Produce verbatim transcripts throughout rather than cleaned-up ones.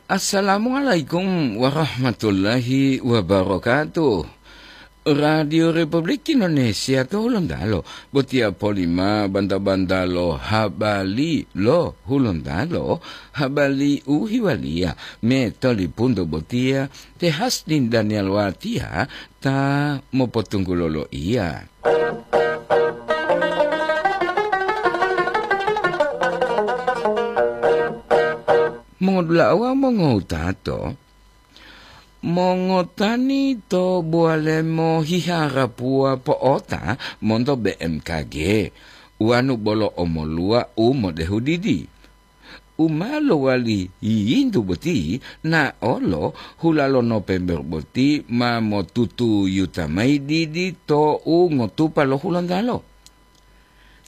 Assalamualaikum warahmatullahi wabarakatuh. Radio Republik Indonesia to Hulontalo, botiya polima banta-banta lo habari lo Hulontalo, habari u hiwaliya me tolipunto botiya te Hasdin Daniel Watiya ta mopotunggulo loiya. Mongodula'a wawu mongowutato, mongotani to Bowalemo hiharapuwa po'ota monto B M K G, wanu bolo omoluwa u modehu didi. U ma lowali yiyintu boti, naolo hula lo Nopember boti ma motutuyuta mayi didi to u ngotupa lo Hulontalo.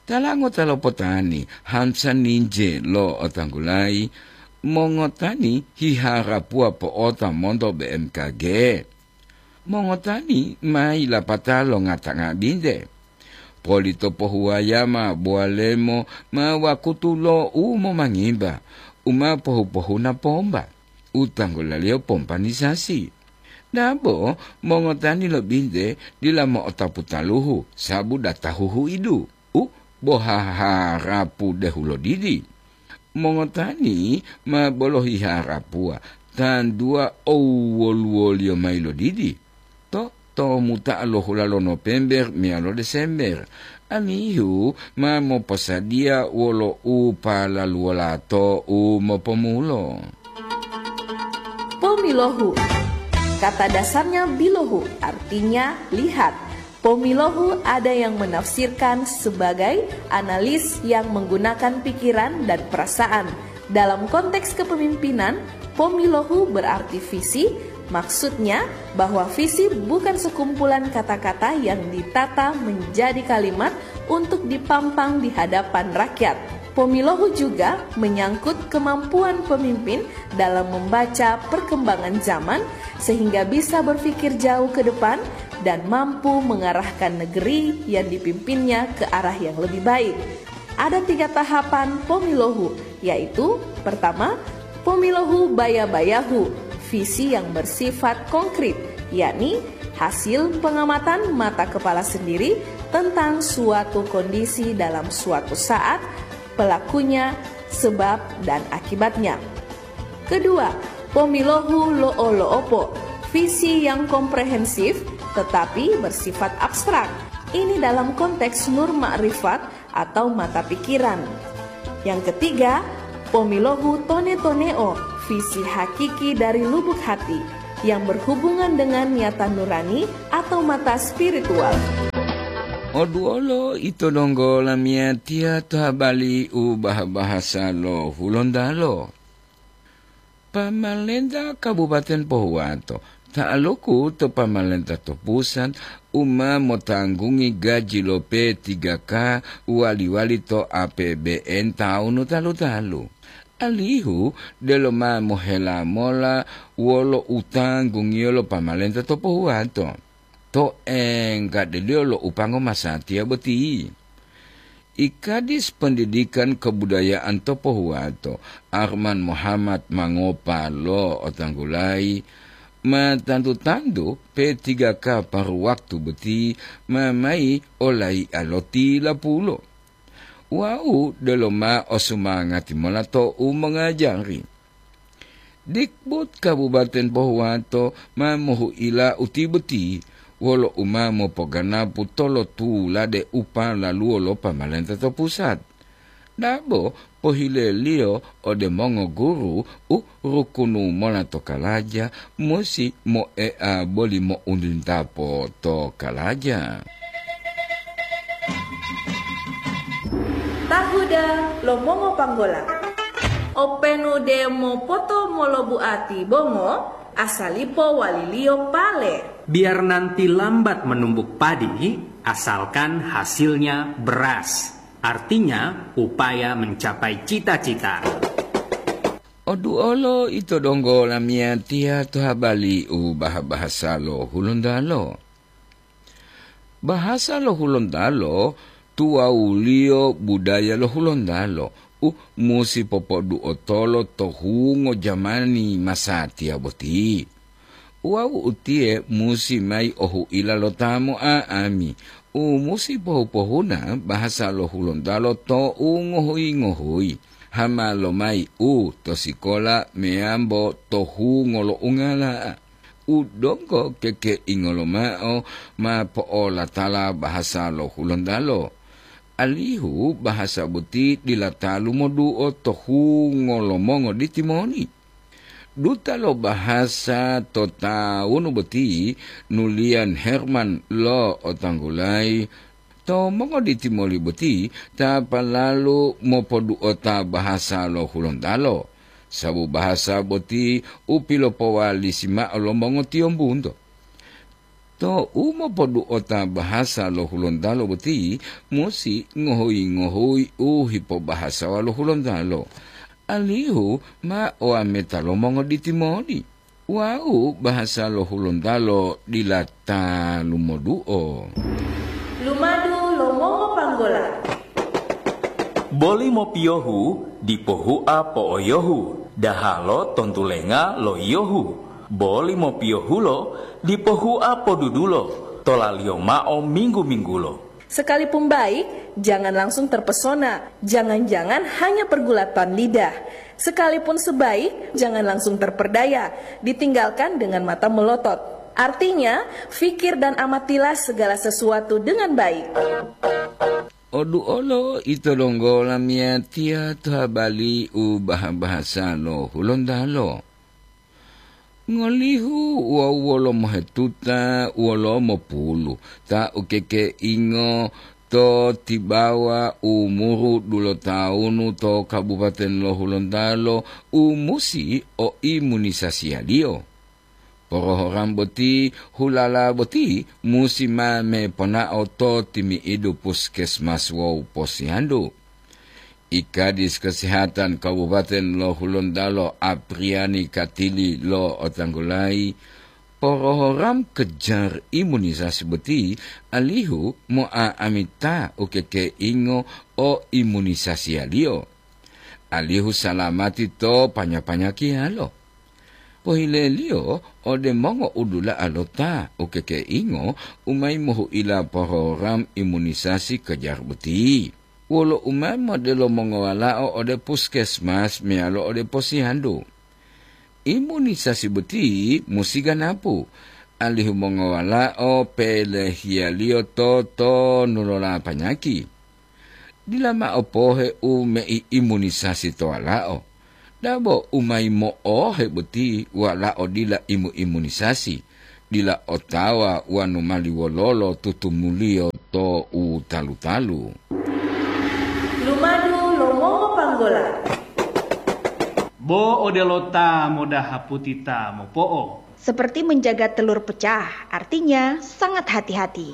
Tala ngota lo potani Hansa Ninje lo otanggulayi, mongotani hiharapuwa po'ota monto B M K G. Mongotani ma yilapata lo ngata nga'abinte. Poli to pohuwaya ma Bowalemo ma wakutu lo u momangimba, u ma pohu-pohuna pomba, u tanggulaliyo pompanisasi. Dabo mongotani lo binte dila mo'otapu taluhu, sabu data huhuidu, u bo haharapu dehulo didi. Mongotani ma bolohi harapuwa, tanduwa owoluwoliyo mayi lodidi, to, to muta'a lo hula lo Nopember meyalo Desember, alihu ma moposadiya wolo u palaluwolato u mopomulo. Pomilohu. Kata dasarnya bilohu, artinya lihat. Pomilohu ada yang menafsirkan sebagai analis yang menggunakan pikiran dan perasaan. Dalam konteks kepemimpinan, pomilohu berarti visi, maksudnya bahwa visi bukan sekumpulan kata-kata yang ditata menjadi kalimat untuk dipampang di hadapan rakyat. Pomilohu juga menyangkut kemampuan pemimpin dalam membaca perkembangan zaman sehingga bisa berpikir jauh ke depan dan mampu mengarahkan negeri yang dipimpinnya ke arah yang lebih baik. Ada tiga tahapan pomilohu, yaitu pertama, pomilohu baya-bayahu, visi yang bersifat konkret, yakni hasil pengamatan mata kepala sendiri tentang suatu kondisi dalam suatu saat, pelakunya, sebab, dan akibatnya. Kedua, pomilohu lo'o-lo'opo, visi yang komprehensif tetapi bersifat abstrak. Ini dalam konteks nur makrifat atau mata pikiran. Yang ketiga, pomilohu tone-toneo, visi hakiki dari lubuk hati yang berhubungan dengan niatan nurani atau mata spiritual. Oduolo ito donggo lamiyatiya to habali u bah-bahasa lo Hulontalo. Pamalenta Kabupaten Pohuwato, ta'aluku to pamalenta to pusat, u ma motanggungi gaji lo P tiga K wali-wali to A P B N tawunu talu-talu. Alihu delo ma mohela mola wolo u tanggungiyo lo pamalenta to Pohuwato, to enggadeliyo lo upango masatiya boti. I Kadis Pendidikan Kebudayaan to Pohuwato, Arman Muhammad Mangopa lo otanggulayi, ma tantu-tantu P tiga K paru waktu boti ma mayi olaiya lo tilapulo. Wau delo ma osumangati mola to u mongajari. Dikbud Kabupaten Pohuwato ma mohuila uti boti wolo u ma mopoganapu tolotulade u palaluwo lo pamalenta to pusat. Dabo pohileliyo ode mongoguru u rukunu mola to kalaja musi moea boli mo'untintapo to kalaja. Tahuda lo mongopanggola. Openu de mopoto molobuati bongo, asalipo waliliyo pale. Biar nanti lambat menumbuk padi, asalkan hasilnya beras. Artinya, upaya mencapai cita-cita. Oduolo ito donggo lamiyatiya to habali u bah-bahasa lo Hulontalo. Bahasa lo Hulontalo tuwawuliyo budaya lo Hulontalo, u musi popoduotolo to hungo jamani masatiya boti. Wawu utiye musi mayi ohuila lo ta mo'a'ami, u musi pohu-pohuna bahasa lo Hulontalo to u ngohuyi-ngohuyi, hama lomayi u to sikola meyambo to hungo lo ungala. U donggo kekeingo lomao ma po'olatala bahasa lo Hulontalo, alihu bahasa boti dila talu moduo to hungo lo mongoditi moli. Duta lo bahasa to tawunu boti, Nulian Herman lo otanggulayi, to mongoditi moli boti ta palalu mopoduota bahasa lo Hulontalo, sabu bahasa boti u pilopowalisi mao lo mongotiyombunto. To u mopoduota bahasa lo Hulontalo boti musi ngohuyi-ngohuyi u hipobahasawa lo Hulontalo, alihu ma owameta lo mongoditi moli. Wawu bahasa lo Hulontalo dila ta lumoduo. Lumadu lo mongopanggola. Boli mopiyohu dipo hua po'oyohu, dahalo tontulenga lo yiyohu. Boli mopiyohulo dipo hua podudulo, tolaliyo mao minggu-minggulo. Sekalipun baik, jangan langsung terpesona. Jangan-jangan hanya pergulatan lidah. Sekalipun sebaik, jangan langsung terperdaya. Ditinggalkan dengan mata melotot. Artinya, fikir dan amatilah segala sesuatu dengan baik. Oduolo ito donggo lamiyatiya to habali u baha-bahasa lo Hulontalo. Ngolihu wawu wolo mohetuta wolo mopulu ta ukekeingo to tibawa umuru dulotawunu to Kabupaten lo Hulontalo u musi o imunisasiyaliyo. Porohoram boti, hulala boti musi ma meponao to timi'idu puskesmas wawu posyandu. I Kadis Kesehatan Kabupaten lo Hulontalo, Apriani Katili lo otanggulayi, porohoram kejar imunisasi boti alihu mo'a'amita ukekeingo o imunisasiyaliyo, alihu salamati to panya-panyakiyalo. Pohileliyo ode mongo'udula'a lo ta ukekeingo u mayi mohu'ila porogram imunisasi kejar boti. Wolo u ma modelo mongowalao ode puskesmas meyalo ode posyandu. Imunisasi boti musi ganapu, alihu mongowalao pelehiyaliyo to tonu lo lapanyaki. Dila mao pohe u meiimunisasi to walao. Dabo u mayi mo'ohe boti walao dila imu-imunisasi, dila otawa wanu mali wololo tutumuliyo to u talu-talu. Lumadu lo mongopanggola. Bo odelo ta modaha puti ta mopo'o. Seperti menjaga telur pecah, artinya sangat hati-hati.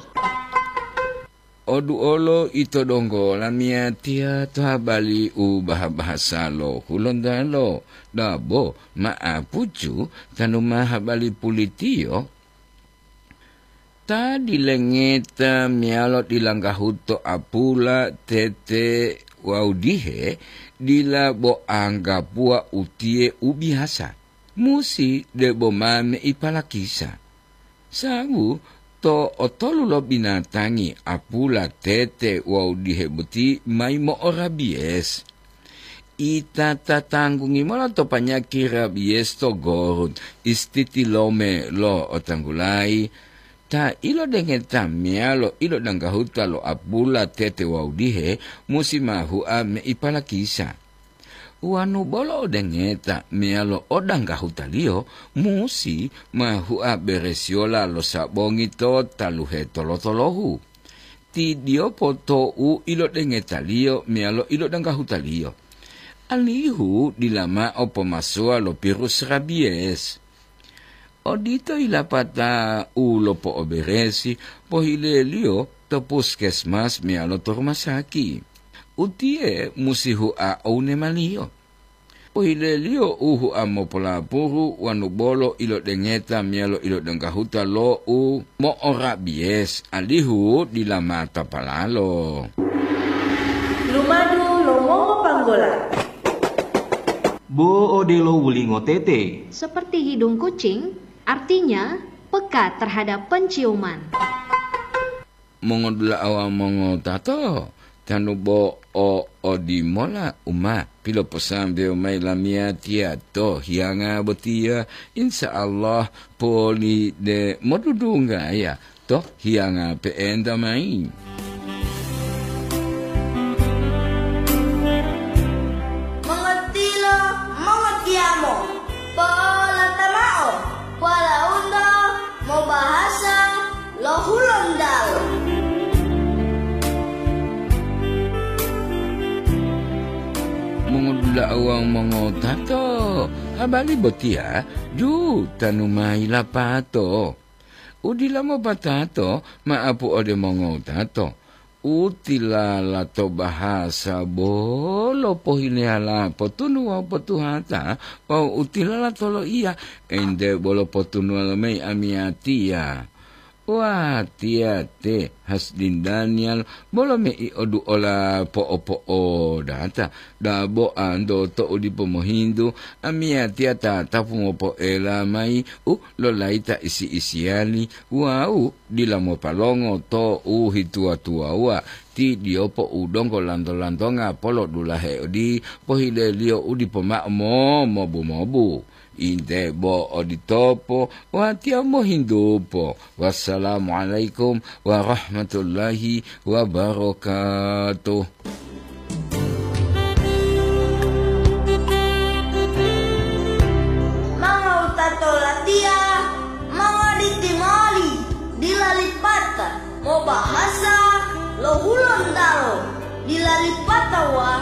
Oduolo ito donggo lamiyatiya to habali u baha-bahasa lo Hulontalo, dabo ma'apucu tanu ma habali pulitiyo. Ta dilengeta meyalo dilanggahuto apula, tete wawu dihe, dila bo anggapuwa utiye u biyasa. Musi debo ma meipalakisa. Sabu to otolu lo binatangi apula, tete wawu dihe boti mayi mo'orabiyes. Ita ta tanggungi mola to panyaki rabiyes to gorut istitilome lo otanggulayi, ta ilodengeta meyalo ilodanggahuta lo apula, tete wawu dihe musi ma hua meipalakisa. Wanu bolo odengeta meyalo odanggahutaliyo, musi ma hua beresiyola lo sabongi to taluhe tolo-tolohu. Tidiyopo tou ilodengetaliyo meyalo ilodanggahutaliyo, alihu dila mao pomasowa lo pirus rabiyes. Odito yilapata u lopo'oberesi pohileliyo to puskesmas meyalo to rumasaki. Utiye musi hua owunemaliyo. Pohileliyo u hua mopolapuru wanu bolo ilodengeta meyalo ilodenggahuta lo u mo'orabiyes, alihu dila matapalalo. Lumadu lo mongopang- Bo odelo wulingo tete. Seperti hidung kucing, artinya peka terhadap penciuman. Mongodula'a wawu mongotato, tanu bo o odimola u ma piloposambewo mayi lamiyatiya to hiyanga botiya, insya Allah poli de modudunggaya to hiyanga pe'enta mayi. Mongotilo, mongotiyamo, po'olata mao, walaundo mobahasa lo Hulontalo. Mongodula'a wawu mongotato, habari botiya ju tanu mayi lapato. U dila mopatato ma'apu ode mongotato, u tilala to bahasa bolo pohileyala potunu wawu potuhata, wawu u tilala to loiya ente bolo potunuwa lomayi amiyatiya. Watiya te Hasdin Daniel bolo mei oduola po'opo'odata, dabo anto to'u dipo mohintu, amiyatiya tatapu mopo'ela mayi u lolayita isi-isiyali wawu dila mopalongo to u hituwa-tuwawuwa, ti diyopo u donggo lanto-lantonga polodulahe odi pohileliyo u dipo mao momobu-mobu. Inte bo oditopo, watiya mohintupo. Wassalamualaikum warahmatullahi wabarakatuh. Mongowutato latiya, mongoditi moli, dila lipata, mobahasa lo Hulontalo, dila lipata wa